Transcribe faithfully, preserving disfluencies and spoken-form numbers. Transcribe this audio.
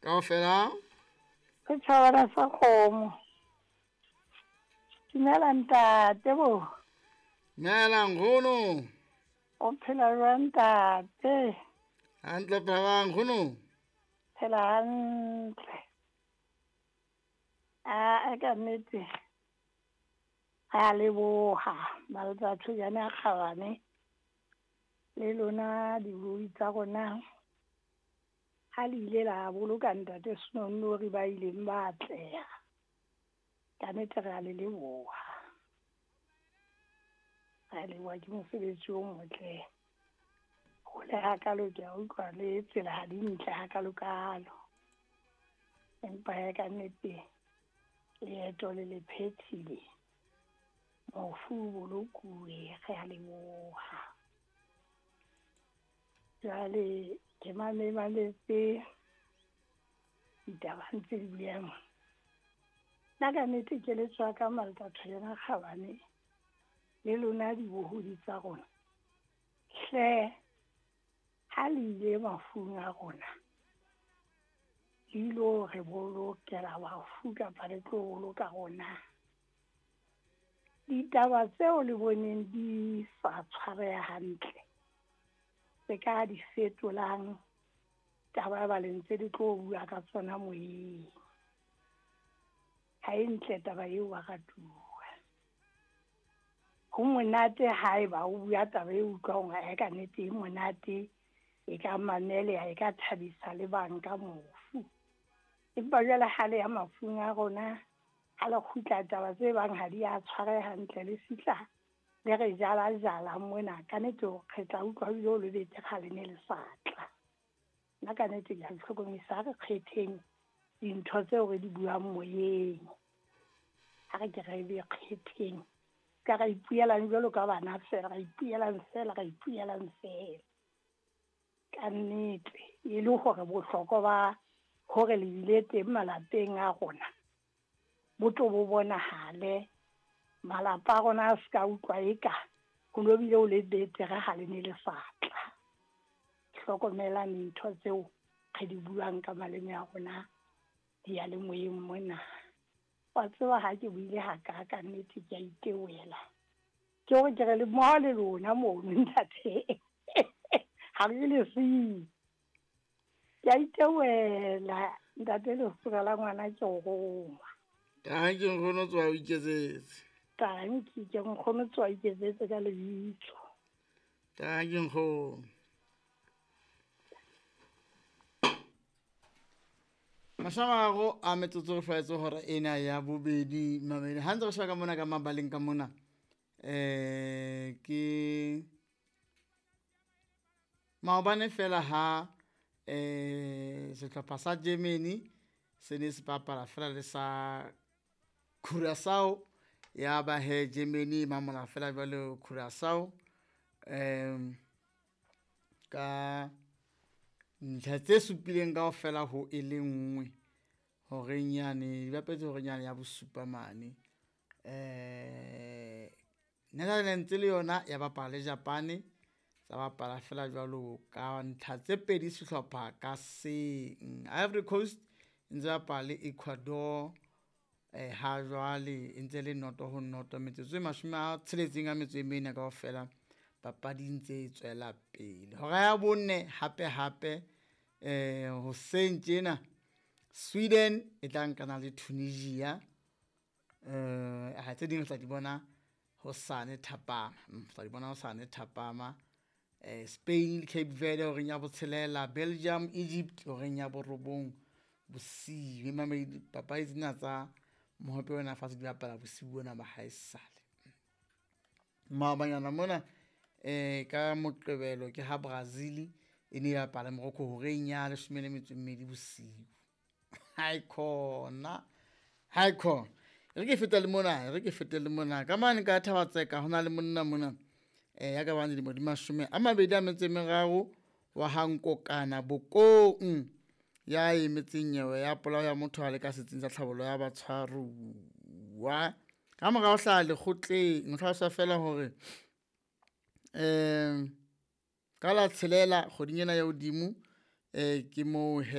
Kaofela. Setjhabana sa kgomo. Dumela ntate bo. Dumela nkgono. O phela jwang ntate? Hantle phela nkgono. Phela hantle. A ka nnete. Re a leboha Maletsa Thojane a kgabane le lona dibui tsa rona. Ha le ile la boloka ntate Senonnori ba ileng ba atleha. Ka nnete re a le leboha. Re a leboha ke mosebetsi o motle. Hole hakalo ke a utlwa le tsela ha di ntle hakalo-kalo. Empa hee ka nnete leeto le le phethile. Mofu o bolokuwe, re a leboha. Jwale ke mametse ditaba ntse di buang. Nna ka nnete keletso ya ka Maletsa Thojane a kgabane le lona dibohodi tsa rona. Hle ha le ile mafung a rona, le ilo re bolokela bafu kapa le tlo boloka rona. Ditaba tseo le boneng di sa tshwareha hantle, tse ka di fetolang taba ba le ntse di tlo bua ka tsona moyeng. Ha e ntle taba eo baratuwa. Ho monate haeba o bua taba e utlwang hore ka nnete e monate, e ka mameleha, e ka thabisa le bang ka mofu. Empa jwale ha le ya mafung a rona, ha le kgutla taba tse bang ha di a tshwareha hantle, le fihla le re jala jala mona. Ka nnete re tla utlwa ebile o le betere ha le ne le sa tla. Nna ka nnete ke a le hlokomedisa, ha re kgetheng dintho tseo re di buang moyeng. Ha re ke re be kgetheng. Ka ra ipuelang jwalo ka bana fela, ra ipuelang fela, ra ipuelang fela. Ka nnete e le hore bohlokwa ba hore le bile teng malapeng a rona bo tlo bo bonahale. Malapa a rona a se ka utlwa eka ho no bile ho le betere ha le ne le sa tla. Hlokomelang dintho tseo re di buang ka maleme a rona diyalemoyeng mona. Wa tseba ha ke buile haka ka nnete ke a itewela. Ke hore ke re le mmoho le lona mono ntate. Ha re le siyo. Ke a itewela ntate lesira la ngwana ke o roma. Tanki nkgono tswa o iketsetse. Tanki ke nkgono tswa o iketsetse ka lebitso. Tanki nkgono. Mashamago a metsotso re hlwaetse hora ena ya bobedi mamedi. Ha ntse re sheba ka mona ka mabaleng ka mona, eh ke maobane fela ha eh sehlopha sa Germany se ne se bapala fela le sa Curaçao, ya ba he Germany mamola fela jwalo Curaçao em ka ntlha tse supileng kaofela ho e le nngwe horeng yane di bapetse horeng yane ya bosupa mane. Eh Netherlands le yona ya bapala le Japan, tsa bapala fela jwalo ka ntlha tse pedi sehlopha ka seng. Ivory Coast e ntse bapala le Ecuador eh ha jwale e ntse le noto ho noto, metsotso e mashome a tsheletseng a metso e mene kaofela papadi ntse e tswela pele. Hora ya bone hape hape eh hoseng tjena Sweden e tla nkana le Tunisia, eh ha tse ding re tla di bona hosane thapama, tla di bona hosane thapama. Eh Spain le Cape Verde horeng ya botshelela, Belgium Egypt horeng ya borobong bosiu. Mamedi papadi tsena tsa mohope ona fatshe di bapala bosiu bona ba haesale. Maobanyana mona eh ka Moqebelo ke ha Brazil e ne e bapala Morocco horeng ya leshome le metso e mmedi bosiu. Hai khona, hai khona. Re ke fete le mona, re ke fete le mona. Ka mane ka Thabatseka ho na le monna mona eh ya ka bang dilemo di mashome a mabedi a metso e meraro wa ha Nkokana Bokong ya emetseng nyewe ya polao ya motho a le ka setsing sa tlhabollo ya batshwaruwa. Ka morao hlaha lekgotleng, ho hlalosa fela hore eh ka la tshelela kgweding ena ya hodimo eh ke moo he